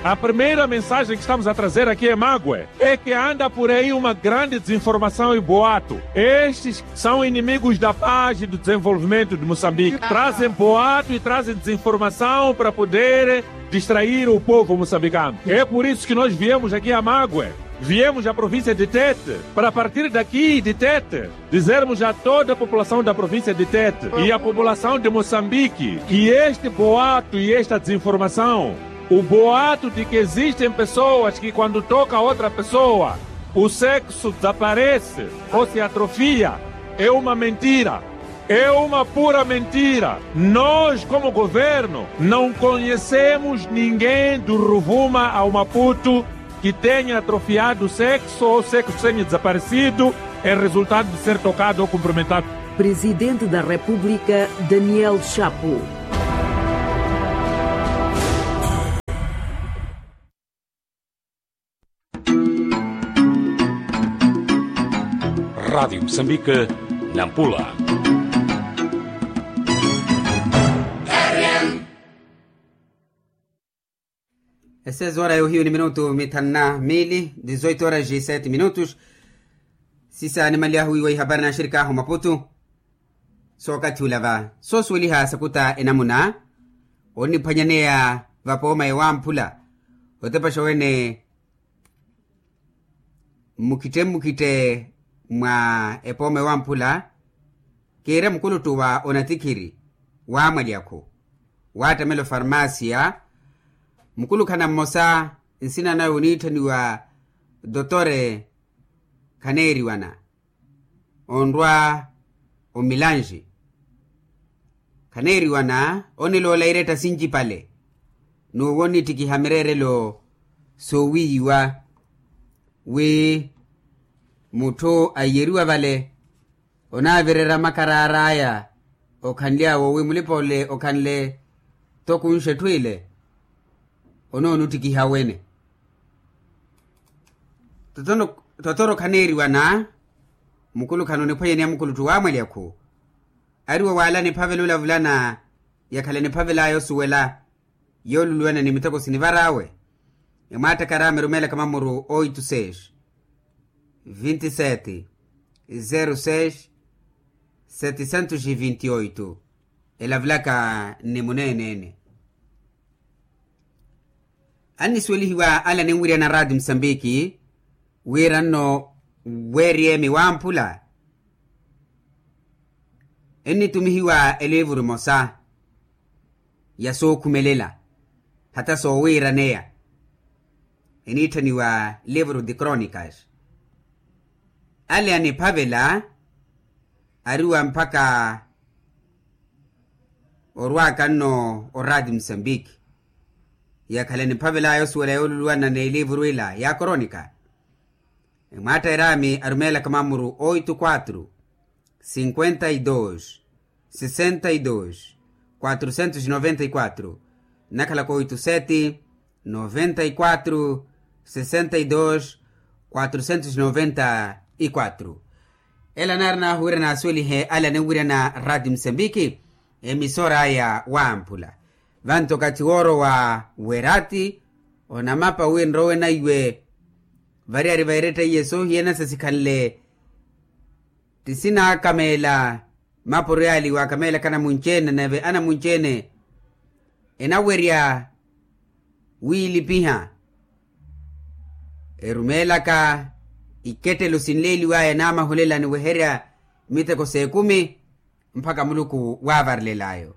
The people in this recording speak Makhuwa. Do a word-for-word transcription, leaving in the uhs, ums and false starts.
A primeira mensagem que estamos a trazer aqui em Magwe é que anda por aí uma grande desinformação e boato. Estes são inimigos da paz e do desenvolvimento de Moçambique. Trazem boato e trazem desinformação para poder distrair o povo moçambicano. É por isso que nós viemos aqui a Magwe. Viemos à província de Tete, para partir daqui de Tete, dizermos a toda a população da província de Tete e a população de Moçambique que este boato e esta desinformação, o boato de que existem pessoas que quando toca outra pessoa, o sexo desaparece ou se atrofia, é uma mentira. É uma pura mentira. Nós, como governo, não conhecemos ninguém do Ruvuma ao Maputo que tenha atrofiado o sexo ou sexo tenha desaparecido em resultado de ser tocado ou cumprimentado. Presidente da República, Daniel Chapo. Rádio Moçambique, Nampula. E seis horas yohiyu ni minutu mithanu na mili, dezoito horas e sete minutos. Sisa animaliyahu wiiwa ihapari na axirikaahu maputu. Sookathi ula va soosuweliha sakuta enamuna onniphwanyaneya vapooma ewamphula otepaxa wene. Mmukhitte mmukhitte mwa epooma ewamphula kiire mukuluttu wa onatikhiri wamwalyakhu wattamela ofarmasia. Mukulukhana mmosa nsina nawe oniitthaniwa dotore khaneeriwana onrwa omilanji. Khaneeriwana oniloola iretta sincipale n'uwo onnittikiha mireerelo soowiiyiwa wi mutthu aiyeriwa vale onaavirerya makaraar'aya okhanly'awo wi mulipa ole okhanle tokunxa etthu ile. Onoonuttikiha wene totoro khaneeriwana. Mukulukhana oniphwanyaneya mukulutthu wamwalyakhu ariwo waalana ephavela olavulana yakhala niphavel'aya osuwela yooluluwana ni miteko sinivar'awe. Emwaattakaraama erumeelaka mamuru oito seis vinte e sete zero seis setecentos e vinte e oito. Elavulaka nni muneene-ene annisuwelihiwa ale aninwiryana raati musambiki wira nno weeriy'emi wamphula ennitumihiwa eliivuru emosa ya sookhumelela hata soowiiraneya eniitthaniwa livro de crônicas. Ale aniphavela ariwa mpakha orwaka nno oraati musambiki yakhala eniphavel'aya osuwela yooluluwana n'eliivuru ila ya crônica. Emwaatta eraami arumeelaka mamuru oito quatro cinquenta e dois sessenta e dois quatrocentos e noventa e quatro nnakhalaka oito sete noventa e quatro sessenta e dois quatrocentos e noventa e quatro. Ela naari naahuwira naasuwelihe ale aninwiryana raati musambiki emisor'aya wamphula. Vanto okathi woorowa w'eraati onamapa wi nrowe naiwe variyari va eretta iye soohiyana sasikhanle ttisinaakameela mapuro yaali waakameelaka anamunci-ene nave anamunci-ene enawerya wiilipiha erumeelaka ikettelo sinleeliw'aya naamahulela niweherya miteko s'ekumi mpakha muluku waavarelel'ayo.